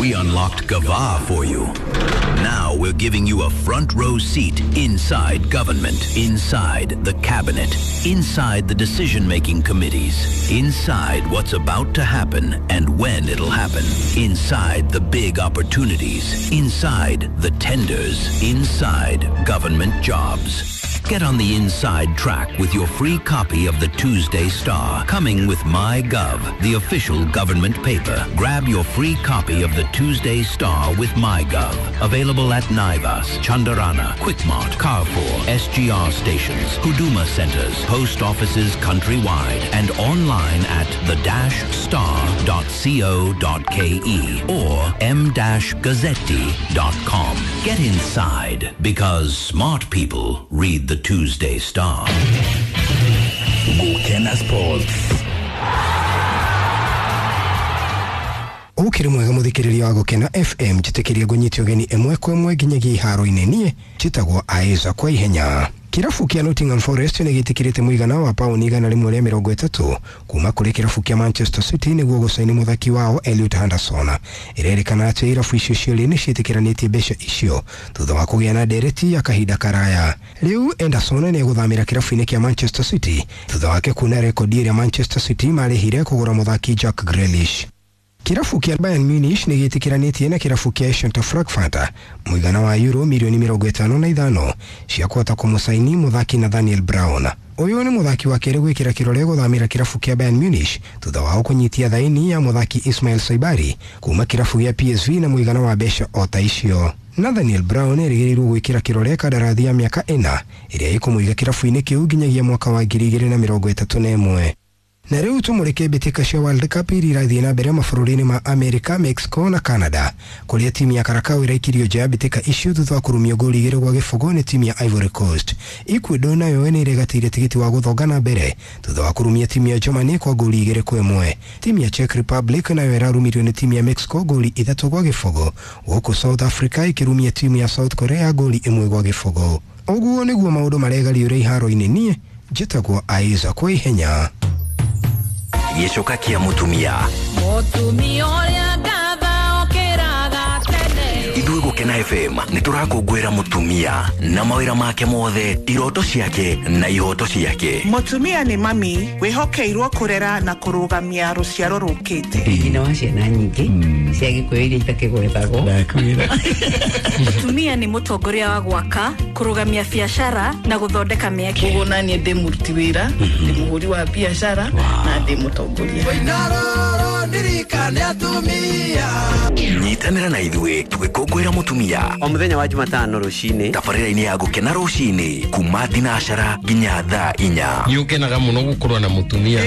We unlocked Gava for you. Now we're giving you a front row seat inside government, inside the cabinet, inside the decision making committees, inside what's about to happen and when it'll happen, inside the big opportunities, inside the tenders, inside government jobs. Get on the inside track with your free copy of the Tuesday Star, coming with MyGov, the official government paper. Grab your free copy of the Tuesday Star with MyGov. Available at Naivas, Chandarana, Quickmart, Carrefour, SGR stations, Huduma centers, post offices countrywide, and online at the-star.co.ke or m-gazzetti.com. Get inside because smart people read the Tuesday Star. Gukena Sports. Ukiri mwega muthikiriria wa Gukena FM, njitikirie ngunyite ugeni ĩmwe kwa ĩmwe nginyagia iharo-inĩ. Niĩ njĩtagwo Aiza kwa ihenya. Kĩrabu kĩa Nottingham Forest nĩ gĩtĩkĩrĩte mũigana wa pauni 130 kuma kũrĩ kĩrabu kĩa Manchester City nĩguo gũcaini mũthaki wao Elliot Henderson. Ĩrerĩkana atĩ irabu icio cierĩ nĩ ciĩtĩkĩranĩtie mbeca icio thutha wa kũgĩa na ndereti ya kahinda karaya. Rĩu Henderson nĩ egũthamĩra kĩrabu-inĩ kĩa Manchester City thutha wake kuna rekondi ĩrĩa Manchester City marĩhire kũgũra mũthaki Jack Grealish. Kĩrabu kĩa Bayern Munich nĩ gĩtĩkĩranĩtie na kĩrabu kĩa Eintracht Frankfurt mũigana wa euro mirioni 55 cia kũhota kũmũcaini mũthaki Nathaniel Brown. Ũyũ nĩ mũthaki wa kerĩ gwĩkĩra kĩrore gũthamĩra kĩrabu kĩa Bayern Munich thutha wao kũnyitia thaini ya mũthaki Ismail Saibari kuma kĩrabu gĩa PSV na mũigana wa mbeca o ta icio. Nathaniel Brown erĩgĩrĩirwo gwĩkĩra kĩrore kandarathi ya mĩaka 4 ĩrĩa ĩkũmũiga kĩrabu-inĩ kĩu nginyagia mwaka wa 2031. Na rĩu tũmũrĩke mbĩtĩka cia World Cup iria irathiĩ na mbere mabũrũri-inĩ ma America, Mexico na Canada, kũrĩa timu ya Karakau ĩraikirio nja ya mbĩtĩka icio thutha wa kũrumio ngolu 2-0 nĩ timu ya Ivory Coast. Ecuador nayo nĩ ĩregatĩire tigiti wa gũthonga na mbere thutha wa kũrumia timu ya Germany kwa ngolu 2-1. Timu ya Czech Republic nayo ĩrarumirio nĩ timu ya Mexico ngolu 3-0, gũkũ South Africa ĩkĩrumia timu ya South Korea ngolu 1-0. Ũguo nĩguo maũndũ maregariũra iharo-inĩ. Niĩ njĩtagwo Aiza kwa ihenya. Gĩcoka kĩa mũtumia. Mũtumia ũrĩa ngatha okĩraga tene. Ithuĩ Gũkena FM nĩ tũrakũngũĩra mũtumia na mawĩra make mothe, iroto ciake na ihoto ciake. Mũtumia nĩ mami wĩhokeirwo kũrera na kũrũgamia rũciaro rũkĩte. Nyina wa ciana nyingĩ cia Gĩkũyũ iria itakĩgwetagwo. Mũtumia nĩ mũtongoria wa gwaka, kũrũgamia biacara na gũthondeka mĩeke. Koguo naniĩ ndĩ mũruti wĩra, ndĩ mũhũri wa biacara na ndĩ mũtongoria. Nyitanĩra na ithuĩ tũgĩkũngũĩra mũtumia o mũthenya wa Jumatano rũcinĩ tabarĩra-inĩ ya Gũkena rũcinĩ kuma thinacara nginya thaa 4. Nĩ ũkenaga mũno gũkorwo na mũtumia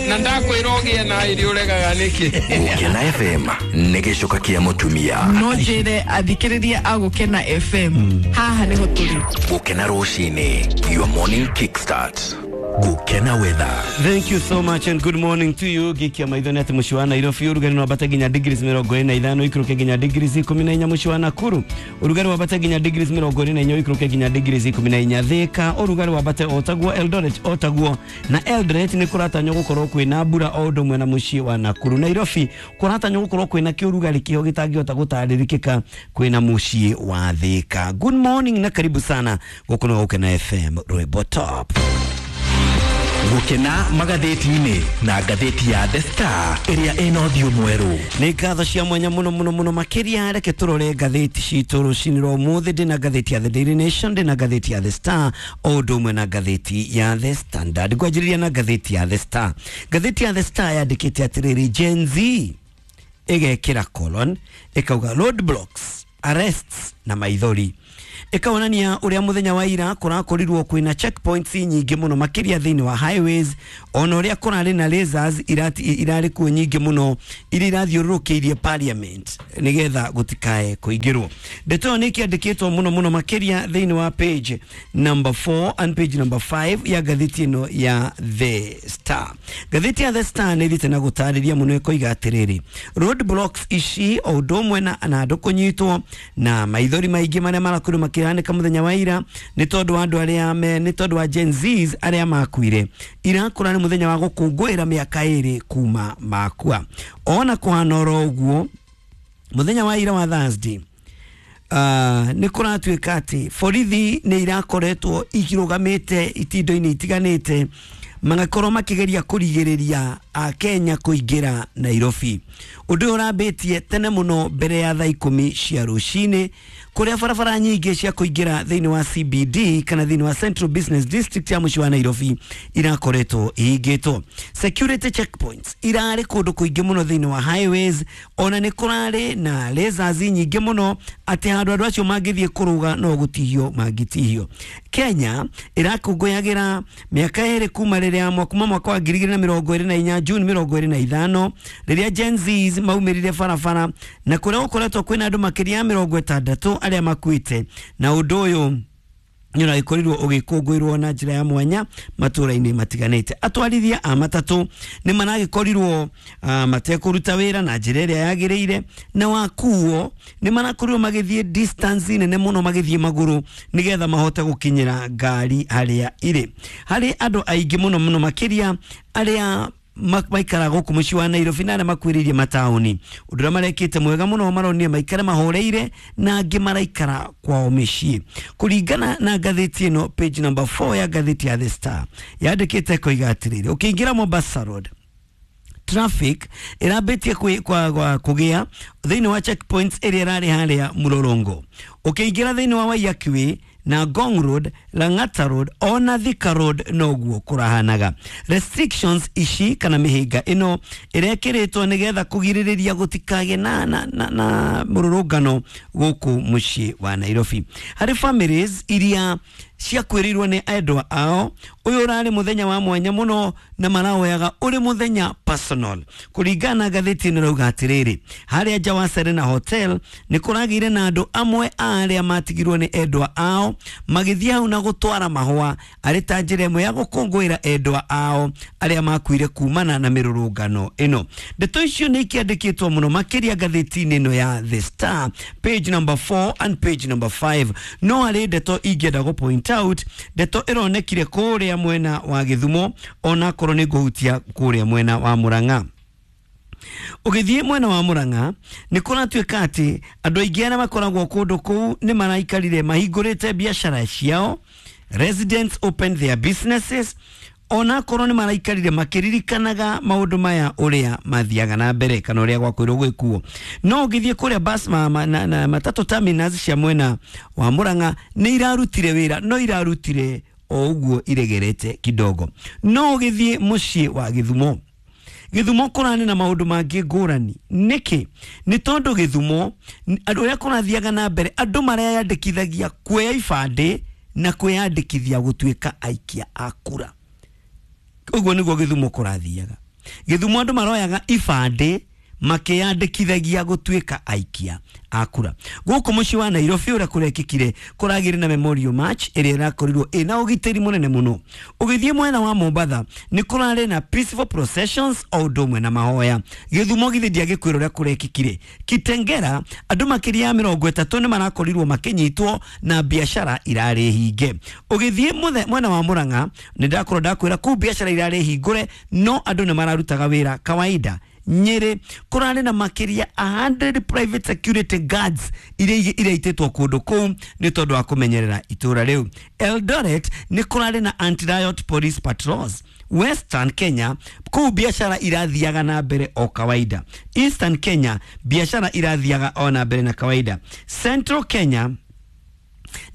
na ndakwĩra ũgĩe na irio ũregaga nĩkĩ. Gũkena FM nĩ gĩcoka kĩa mũtumia. No njĩre athikĩrĩria a Gũkena FM haha nĩho tũrĩ. Gũkena rũcinĩ, your morning kickstart. Gukena weather. Thank you so much and good morning to you. Gikia maitho nĩ atĩ mũciĩ wa Nairobi ũrugarĩ nĩ wambata nginya degrees 25 ũikũrũke nginya degrees 14. Mũciĩ wa Nakuru ũrugarĩ wambate nginya degrees 24 ũikũrũke nginya degrees 14. Thika ũrugarĩ wambate o taguo, Eldoret o taguo, na Eldoret nĩ kũratanywo gũkorwo kwĩna mbura o ũndũ ũmwe na mũciĩ wa Nakuru. Nairobi kũratanywo gũkorwo kwĩna kĩũrugarĩ kĩho gĩtangĩhota gũtarĩrĩkĩka kwĩna mũciĩ wa Thika. Good morning na karibu sana gũkũ nĩ Gũkena FM Rwĩmbo Top. Gũkena magathĩti-inĩ na ngathĩti ya The Star ĩrĩa ĩna ũthiũ mwerũ. Nĩ ngatho cia mwanya mũno mũno mũno makĩria. Reke tũrore ngathĩti citũ rũcinĩ rwa ũmũthĩ. Ndĩna ngathĩti ya The Daily Nation, ndĩna ngathĩti ya The Star o ũndũ ũmwe na ngathĩti ya The Standard. Ngwanjĩrĩria na ngathĩti ya The Star. Ngathĩti ya The Star yandĩkĩte atĩrĩrĩ, Gen Z ĩgekĩra colon ĩkauga roadblocks, arrests na maithori. Ĩkaonania ũrĩa mũthenya wa ira kũrakorirwo kwĩna checkpoints nyingĩ mũno makĩria thĩinĩ wa highways, ona ũrĩa kũrarĩ na lasers irarĩ kuo nyingĩ mũno iria irathiũrũrũkĩirie parliament nĩgetha gũtikae kũingĩrwo. Ndeto ĩyo nĩ ĩkĩandĩkĩtwo mũno mũno makĩria thĩinĩ wa page number 4 and page number 5 ya ngathĩti ĩno ya The Star. Ngathĩti ya The Star nĩ ĩthiĩte na gũtarĩria mũno ĩkoiga atĩrĩrĩ, road blocks ici o ũndũ ũmwe na andũ kũnyitwo na maithori maingĩ marĩa marakorirwo makĩhanĩka mũthenya wa ira nĩ tondũ wa andũ arĩa me nĩ tondũ wa Gen Zs arĩa makuire. Irakũra nĩ mũthenya wa gũkũngũĩra mĩaka 2 kuma makua. Ona kũhana oro ũguo, Muthenya wa ira wa Thursday, nĩ kũratuĩka atĩ borithi nĩ irakoretwo ikĩrũgamĩte itindo-inĩ itiganĩte, magakorwo makigeria kurigiriria Akenya kuingira Nairobi. Undu ũrambĩtie tene mũno mbere ya thaa 10 cia rũcinĩ, kũrĩa barabara nyingĩ cia kũingĩra thĩinĩ wa CBD kana thĩinĩ wa Central Business District ya mũciĩ wa Nairobi irakoretwo ihingĩtwo. Security checkpoints irarĩ kũndũ kũingĩ mũno thĩinĩ wa highways, ona nĩ kũrarĩ na lasers nyingĩ mũno atĩ handũ andũ acio mangĩthiĩ kũrũga no gũtihio mangĩtihio. Kenya ĩrakũngũyagĩra mĩaka 2 kuma rĩrĩa kuma mwaka wa 2024 June 25 rĩrĩa Gen Zs maumĩrire barabara na kũrĩa gũkoretwo kwĩna andũ makĩria ya 60 arĩa makuĩte, na ũndũ ũyũ nĩ ũragĩkorirwo ũgĩkũngũĩrwo na njĩra ya mwanya matũra-inĩ matiganĩte. Atwarithia a matatũ nĩ maragĩkorirwo matekũruta wĩra na njĩra ĩrĩa yagĩrĩire, na wakuo nĩ marakorirwo magĩthiĩ distance nene mũno magĩthiĩ magũrũ nĩgetha mahote gũkinyĩra ngari harĩa irĩ. Harĩ andũ aingĩ mũno mũno makĩria arĩa maikara gũkũ mũciĩ wa Nairobi na arĩa makuĩrĩirie mataũni. Ũndũ ũrĩa marekĩte mwega mũno maronire maikare mahoreire na angĩ maraikara kwao mĩciĩ. Kũringana na ngathĩti ĩno, page number 4 ya ngathĩti ya The Star yandĩkĩte koiga atĩrĩrĩ, ũkĩingĩra Mombasa Road traffic ĩrambĩtie kũgĩa thĩinĩ wa checkpoints ĩrĩa ĩrarĩ harĩa Mũrorong'o. Ũkĩingĩra thĩinĩ wa Waiyaki Way na Ngong Road, Lang'ata Road ona Thika Road noguo kũrahanaga. Restrictions ici kana mĩhĩnga ĩno ĩrekĩrĩtwo nĩgetha kũgirĩrĩria gũtikagĩe na mũrũrũngano gũkũ mũciĩ wa Nairobi. Harĩ families iria ciakuĩrĩirwo nĩ endwa ao, ũyũ ũrarĩ mũthenya wa mwanya mũno na maraoyaga ũrĩ mũthenya personal. Kũringana na ngathĩti ĩno ĩrauga atĩrĩrĩ, harĩa nja wa Serena Hotel nĩ kũragĩire na andũ amwe a arĩa matigirwo nĩ endwa ao magĩthiĩ hau na gũtwara mahũa arĩ ta njĩra ĩmwe ya gũkũngũĩra endwa ao arĩa makuire kumana na mĩrũrũngano ĩno. Ndeto icio nĩ ikĩandĩkĩtwo mũno makĩria ngathĩti-inĩ ĩno ya The Star, page number 4 and page number 5. No harĩ ndeto ingĩenda gũ point out, ndeto ĩronekire kũrĩa mwena wa Gĩthumo ona korwo nĩ ngũhutia kũrĩa mwena wa Murang'a. Ũgĩthiĩ mwena wa Murang'a nĩ kũratuĩka atĩ andũ aingĩ arĩa makoragwo kũndũ kũu nĩ maraikarire mahingũrĩte biacara ciao, residents opened their businesses, ona korwo nĩ maraikarire makĩririkanaga maũndũ maya ũrĩa mathiaga na mbere kana ũrĩa gwakwĩrwo gwĩkuo. No ũgĩthiĩ kũrĩa bus na matatũ terminals cia mwena wa Murang'a nĩ irarutire wĩra, no irarutire o ũguo iregerete kidogo. No ũgĩthiĩ mũciĩ wa Gĩthumo, Gĩthumo kũrarĩ na maũndũ mangĩ ngũrani. Nĩkĩ? Nĩ tondũ Gĩthumo andũ ũrĩa kũrathiaga na mbere andũ mareyandĩkithagia kuoya ibandĩ na kwĩyandĩkithia gũtuĩka aikia a kura. Ũguo nĩguo Gĩthumo kũrathiaga. Gĩthumo andũ maroyaga ibandĩ makĩyandĩkithagia gũtuĩka aikia a kura. Gũkũ mũciĩ wa Nairobi ũrĩa kũrekĩkire kũragĩrĩ na Memorial March ĩrĩa ĩrakorirwo ĩna ũgitĩri mũnene mũno. Ũgĩthiĩ mwena wa Mombatha nĩ kũrarĩ na peaceful processions o ũndũ ũmwe na mahoya. Gĩthumo githĩ ndiagĩkwĩra ũrĩa kũrekĩkire. Kitengera andũ makĩria ya 30 nĩ marakorirwo makĩnyitwo na biacara irarĩ hinge. Ũgĩthiĩ mwena wa Murang'a nĩ ndakorwo ndakwĩra kũu biacara irarĩ hingũre no andũ nĩ mararutaga wĩra kawaida. Nyeri kũrarĩ na makĩria 100 private security guards iria iraitĩtwo kũndũ kũu nĩ tondũ wa kũmenyerera itũra rĩu. Eldoret nĩ kũrarĩ na anti-riot police patrols. Western Kenya kũu biacara irathiaga na mbere o kawaida. Eastern Kenya biacara irathiaga o na mbere na kawaida. Central Kenya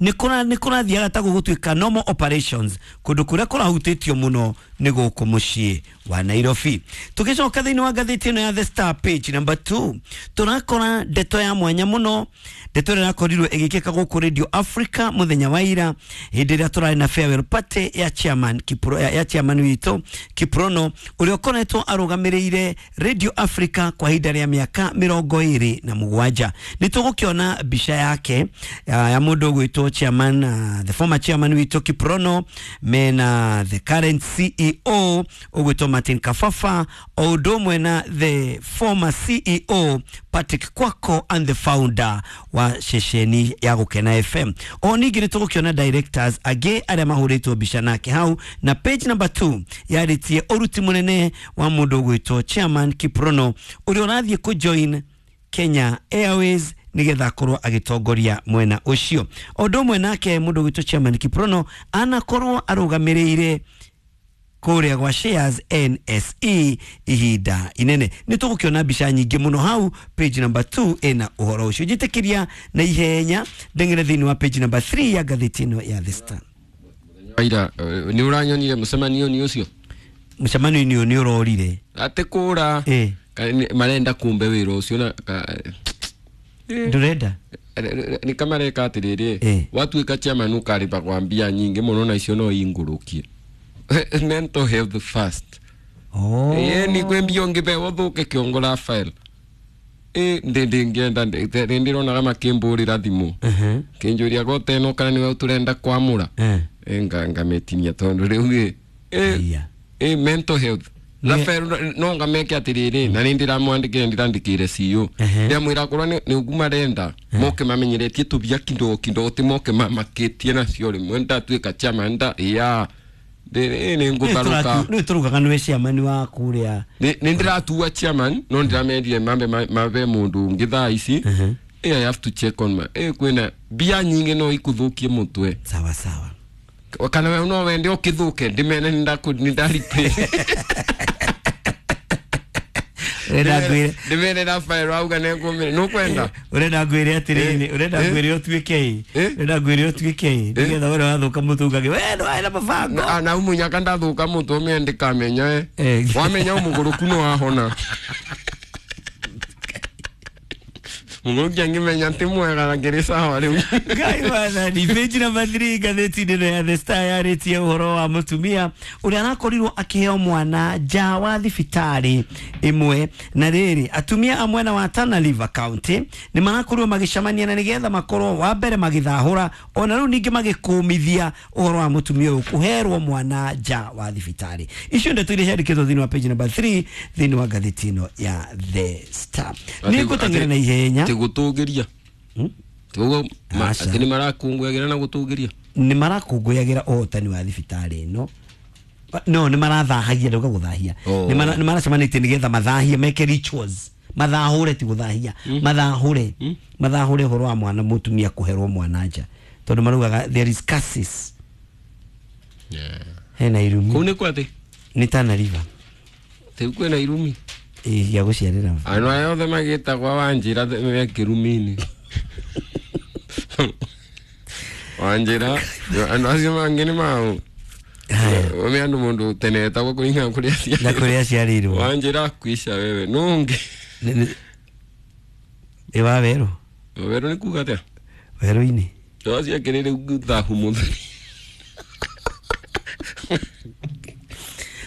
nĩ kũrathiaga ta gũgũtuĩka normal operations kũndũ kũrĩa kũrahutĩtio mũno nĩ gũkũ mũciĩ wa Nairobi. Tũgĩcoka thĩinĩ wa ngathĩti ĩno ya The Star page number 2 tũrakora ndeto ya mwanya mũno, ndeto ĩrĩa ĩrakorirwo ĩgĩkĩka gũkũ Radio Africa mũthenya wa ira hĩndĩ ĩrĩa tũrarĩ na farewell party ya chairman Kipro, ya chairman witũ Kiprono ũrĩa ũkoretwo arũgamĩrĩire Radio Africa kwa ihinda rĩa mĩaka 27. Nĩ tũgũkĩona mbica yake ya mũndũ ũgwĩtwo chairman, the former chairman witũ Kiprono mena the current CEO ũgwĩtwo Martin Kafafa o ũndũ ũmwe na the former CEO Patrick Kwako and the founder wa ceceni ya Gũkena FM. O ningĩ nĩ tũgũkĩona directors angĩ arĩa mahũrĩtwo mbica nake hau, na page number 2 yarĩtie ũruti mũnene wa mũndũ ũgwĩtwo chairman Kiprono ũrĩa ũrathiĩ kũjoin Kenya Airways nigetha akorwo agitongoria mwena ucio. Undu umwe nake mundu gwitwo chairman Kiprono anakorwo arugamiriire kuria gwa shares NSE ihinda inene. Ni tugukiona mbica nyingi muno hau page number 2 ina uhoro ucio. Njitikiria na ihenya ndengere thiini wa page number 3 ya ngathĩti ĩno ya The Star. Aira ni uranyonire mucemanio ni ucio? Mucemanio ni urorire ati kura marenda kumbe wira ucio na ndurenda ni kamareka atiriri watuika chairman ukariba kwambia nyingi muno na icio no ingurukie. Mental health first. Oh. Ni kwembio ngibe wathuke kiongo Rafael. Ndingenda ndirona kama kimburira thimu. Kinjuria gote no kana niwe turenda kwamura. Ngametinia tondu riu mental health. Rafael no ngameke atiriri na ni ndiramwandikire ndirandikire CEO. Ndiamwira korwo ni ugu marenda moke mamenyeretie tubia kindo kindo ti moke mamakitie nacio rimwe ndatuika chairman nda ya ni ngutharuka ni turugaga niwe chairman wa kuria ni ndiratua chairman no ndiramendire mambe mabe mundu ungi thaa ici. I have to check on my kwina bia nyingi no ikuthukie mutwe. Sawa sawa. Kana we no wende ukithuke ndimene ndarite ndimene Rafael auga nengumire nukwenda urenda ngwire atiriri urenda ngwire utuike urenda ngwire utuike nigetha ure wathuka mutu ugage we no aina mabango na umunyaka ndathuka mutu umende kamenya wamenya umuguruku no wahona Mungu angimenya ti mwega na ngiri sawa riu. Ngai wathani. Page number 3 ngathĩti-inĩ ĩno ya The Star yarĩtie ũhoro wa mũtumia ũrĩa arakorirwo akĩheo mwana nja wa thibitarĩ ĩmwe. Na rĩrĩ atumia a mwena wa Tana River County nĩ marakorirwo magĩcemania na nĩgetha makorwo wa mbere magĩthahũra ona rĩu ningĩ magĩkũmithia ũhoro wa mũtumia ũyũ kũherwo mwana nja wa thibitarĩ. Icio ndeto iria ciandĩkĩtwo thĩinĩ wa page number 3 thĩinĩ wa ngathĩti ĩno ya The Star. Nĩ ngũteng'era na ihenya gutugiria tugo ati ni marakunguyagira na gutugiria ni marakunguyagira uhotani wa thibitarĩ ĩno no ni marathahagia nduga guthahia ni maracemanĩtie nigetha mathahie meke rituals mathahure ti guthahia mathahure mathahure horo wa mwana mutumia kuherwo mwana nja tondu marugaga there is curses hena irumi kuu ni kwathi ni Tana River te kwena irumi ya guciarira andu aya othe magitagwa Wanjira me kirumini. Wanjira andu acio mangi ni mau ome andu mundu tene etagwo kuringana kuria na kuria aciarirwo. Wanjira kuisha wewe nungi ĩ wa werũ werũ ni kuga atia werũ-inĩ acio akĩrĩ thahu mũtheri.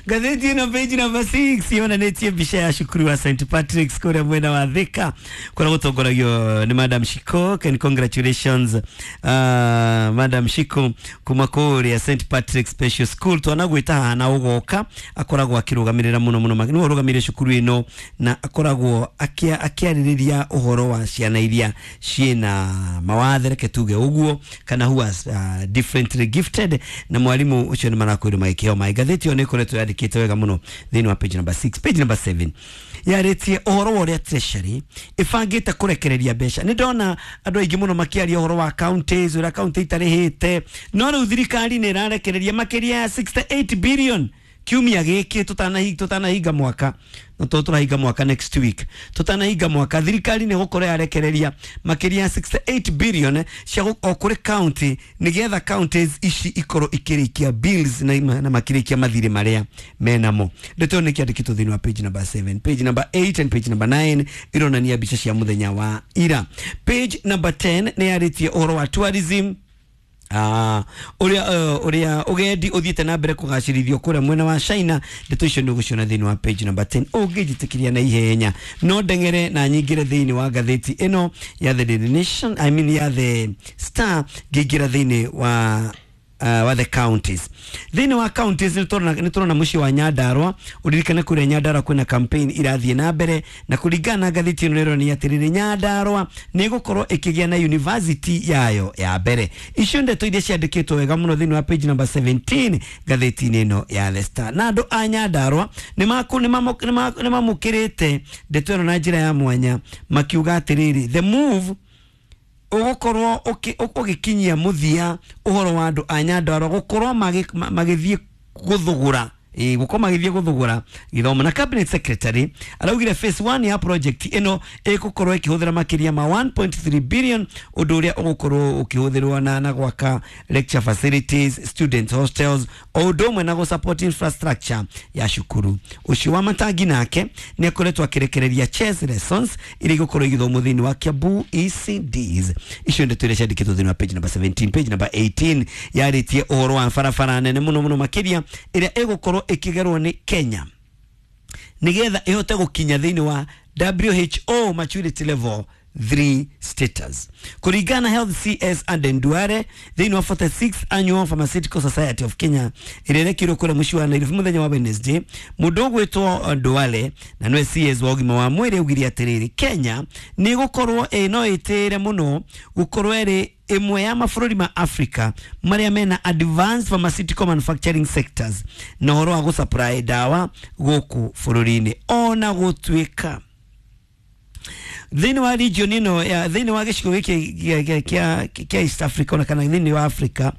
Ngathĩti ĩno page number 6 yonanĩtie mbica ya cukuru wa St Patrick's kũrĩa mwena wa Thika kũrĩa gũtongoragio nĩ Madam Shiko. And congratulations Madam Shiko kuma kũrĩa St Patrick's Special School. Twanagwĩta haha na ũgoka akoragwo akĩrũgamĩrĩra mũno mũno nĩwe ũrũgamĩrĩire cukuru ĩno na akoragwo akĩarĩrĩria ũhoro wa ciana iria ciĩna mawathe reke tuge ũguo kana who are differently gifted na mwarimu ũcio nĩ marakwĩrwo magĩkĩheo maĩ. Ngathĩti ĩyo nĩ ĩkoretwo yandĩkĩte wega mũno thĩinĩ wa page number 6. Page number 7 yarĩtie ũhoro wa ũrĩa treasury ĩbangĩte kũrekereria mbeca. Nĩ ndona andũ aingĩ mũno makĩaria ũhoro wa counties ũrĩa county itarĩhĩte no rĩu thirikari nĩ ĩrarekereria makĩria ya 68 billion kiumia gĩkĩ tutanahinga mwaka no tũrahinga mwaka next week tutanahinga mwaka thirikari nĩ gũkorwo yarekereria makĩria ya 68 billion cia o kũrĩ county nĩgetha counties ici ikorwo ikĩrĩkia bills na makĩrĩkia mathirĩ marĩa menamo. Ndeto nĩ kĩandĩkĩtwo thĩinĩ wa page number 7, page number 8 and page number 9 ironania mbica cia mũthenya wa ira. Page number 10 nĩ yarĩtie ũhoro wa tourism uria ugendi uthiite na mbere kugacirithio kuria mwena wa China. Ndeto icio nĩ thĩinĩ wa page number 10 ũngĩnjĩtĩkĩria na ihenya no ndeng'ere na nyingĩre thĩinĩ wa ngathĩti ĩno ya The Daily Nation, I mean ya The Star, ngĩingĩra thĩinĩ wa wa the counties. Thĩinĩ wa counties nĩ tũrona mũciĩ wa Nyandarua. Ũririkane kũrĩa Nyandarua kwĩna campaign irathiĩ na mbere, na kũringana na ngathĩti ĩno ĩronania atĩrĩrĩ, Nyandarua nĩ ĩgũkorwo ĩkĩgĩa na university yayo ya mbere. Icio ndeto iria ciandĩkĩtwo wega mũno thĩinĩ wa page number 17 ngathĩti-inĩ ĩno ya The Star. Na andũ a Nyandarua nĩ mamũkĩrĩte ndeto ĩno na njĩra ya mwanya, makiuga atĩrĩrĩ, the move ugukorwo ugikinyia muthia uhoro wa andu a Nyandarua gukorwo magithie guthugura gukorwo magithie guthugura githomo. Na cabinet secretary araugire phase 1 ya project ino igukorwo ikihuthira makiria ma 1.3 billion, undu uria ugukorwo ukihuthirwo na gwaka lecture facilities, student hostels, o undu umwe na gusupport infrastructure ya cukuru. Ucio wa Matangi nake ni akoretwo akirekereria chess lessons iria igukorwo igithomwo thiini wa Kiambu ECDs. Icio ndeto iria ciandikitwo thiini wa page number 17. Page number 18 yaritie uhoro wa barabara nene muno muno makiria iria igukorwo ikigerwo ni Kenya nigetha ihote gukinya thiini wa WHO maturity level 3 status. Kuringana Health CS and Nduare thiini wa 46th Annual Pharmaceutical Society of Kenya irerekirwo kura muciĩ wa Nairobi muthenya wa Wednesday, mundu ugwitwo Nduale na niwe CS wa ugima wa mwiri augire atiriri, Kenya ni gukorwo no itire muno gukorwo iri imwe ya mabũrũri ma Africa maria mena advanced pharmaceutical manufacturing sectors na ũhoro wa gũsupply dawa gũkũ bũrũri-inĩ. Ona gũtuĩka thĩinĩ wa region ĩno ya thĩinĩ wa gĩcigo gĩkĩ kĩa East Africa ona kana thĩinĩ wa Africa,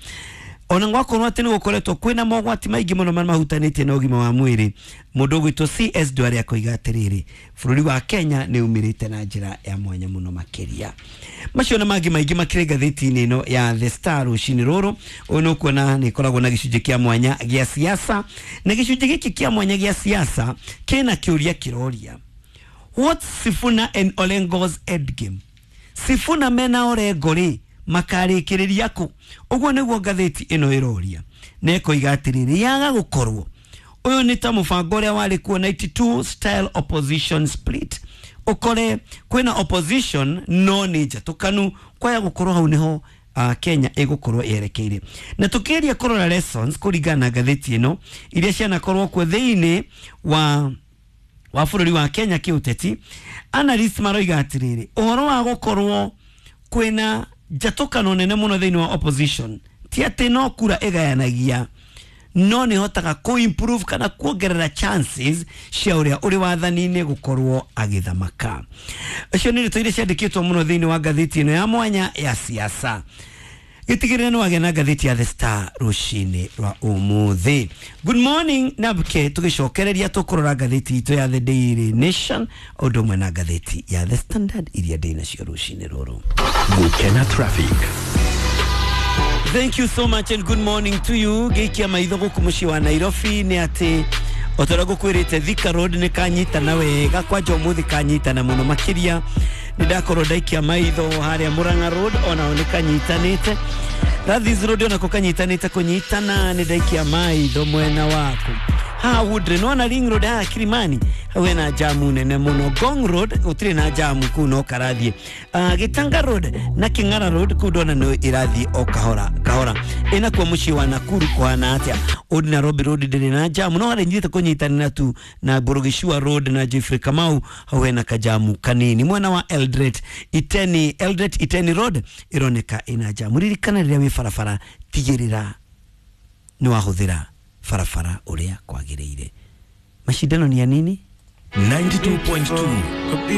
ona gwakorwo atĩ nĩ gũkoretwo kwĩna mogwati maingĩ mũno marĩa mahutanĩtie na ũgima wa mwĩrĩ, mũndũ ũgwĩtwo CS Ndwari akoiga atĩrĩrĩ, bũrũri wa Kenya nĩ umĩrĩte na njĩra ya mwanya mũno makĩria. Macio na mangĩ maingĩ makĩrĩ ngathĩti-inĩ ĩno ya The Star rũcinĩ rũrũ. Ũyũ nĩ ũkuona nĩ ĩkoragwo na gĩcunjĩ kĩa mwanya gĩa siasa, na gĩcunjĩ gĩkĩ kĩa mwanya gĩa siasa kĩna kĩũria kĩroria, what's Sifuna and Orengo's endgame? Sifuna mena Orengo rĩ makarĩkĩrĩria kũ? Ũguo nĩguo ngathĩti ĩno ĩroria, na ĩkoiga atĩrĩrĩ, yaga gũkorwo ũyũ nĩ ta mũbango ũrĩa warĩ kuo 92 style opposition split, ũkore kwĩna opposition no nĩ njatũkanu, kwaya gũkorwo hau nĩho Kenya ĩgũkorwo yerekeire. Na tũkĩgeria kũrora lessons kũringana na ngathĩti ĩno iria cianakorwo kuo thĩinĩ wa bũrũri wa Kenya kĩũteti, analyst maroiga atĩrĩrĩ, ũhoro wa gũkorwo kwĩna njatũkano nene mũno thĩinĩ wa opposition ti atĩ no kura ĩgayanagia, no nĩ hotaga kũ improve kana kuongerera chances cia ũrĩa ũrĩ wathani-inĩ gũkorwo agĩthamaka. Icio nĩ ndeto iria ciandĩkĩtwo mũno thĩinĩ wa ngathĩti ĩno ya mwanya ya siasa. Gĩtigĩrĩre nĩ wagĩa na ngathĩti ya The Star rũcinĩ rwa ũmũthĩ. Good morning nabke, tũgĩcokereria tũkũrora ngathĩti itũ ya The Daily Nation ũndũ ũmwe na ngathĩti ya The Standard iria ndĩ nacio rũcinĩ rũrũ. Gũkena traffic. Thank you so much and good morning to you. Gĩikia maitho gũkũ mũciĩ wa Nairobi nĩ atĩ o ta ũrĩa ngũkwĩrĩte Thika Road nĩ kanyitana wega, kwanja ũmũthĩ kanyitana mũno makĩria. Nĩ ndakorwo ndaikia maitho harĩa Murang'a Road onao nĩ kanyitanĩte, Rathis Road onako kanyitanĩte kũnyitana, nĩ ndaikia maitho mwena waku haha Woodley, nĩwona Ring Road haha Kilimani hau hena jamu nene mũno. Ngong Road gũtirĩ na jamu kũu no karathiĩ. Gĩtanga Road na Kĩng'ara Road kũu ndona nĩ ĩrathiĩ o kahora kahora. Ĩnakuo mũciĩ wa Nakuru kũhana atĩa? Old Nairobi Road ndĩrĩ na jamu, no harĩa nyitĩte kũnyitanĩra tu na Burugishua Road na Jeffrey Kamau hau hena kajamu kanini. Mwena wa Eldoret Iteni, Eldoret Iteni Road ĩroneka ĩna jamu. Ririkana rĩrĩa wĩ barabara tigĩrĩra nĩ wahũthĩra barabara ũrĩa kwagĩrĩire. Mashindano ni ya nini? 92.2.